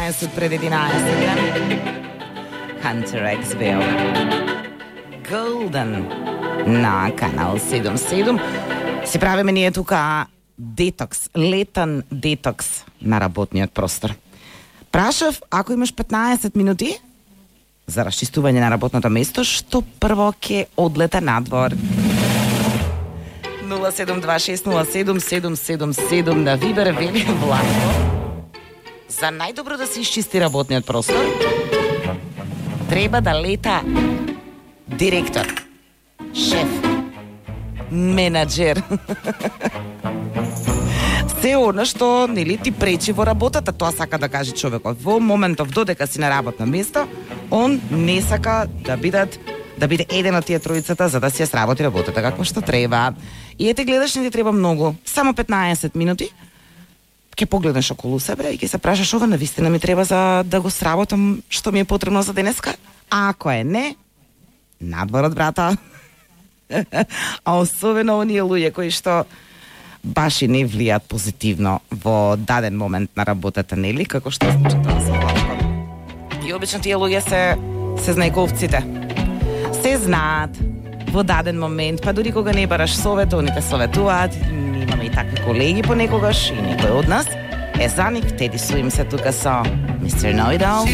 15 пред 11. Hunter X Bill. Golden на канал 77. Си правиме ние тука детокс, летен детокс на работниот простор. Прашав, ако имаш 15 минути за расчистување на работното место, што прво ќе одлета надвор? 072607777 на Вибер вели Влако. За најдобро да се исчисти работниот простор, треба да лета директор, шеф, менаџер. Се она што нели ти пречи во работата, тоа сака да каже човекот. Во моментов додека си на работно место, он не сака да биде еден од тие тројцата за да си ја сработи работата како што треба. И ете гледаш, не ти треба многу, само 15 минути. Ќе погледнеш околу себе и ќе се прашаш ова навистина ми треба за да го сработам што ми е потребно за денеска. А ако е не, надворот, брата. А особено оние луѓе кои што баш и не влијат позитивно во даден момент на работата, нели? Како што случи тоа со Владко. И обично тие луѓе се знаековците. Се знаат во даден момент, па дури кога не бараш совет, они те советуваат. Имаме и такви колеги понекогаш и некој од нас. Е за нив, теди су им се тука со Mr. Know-It-All.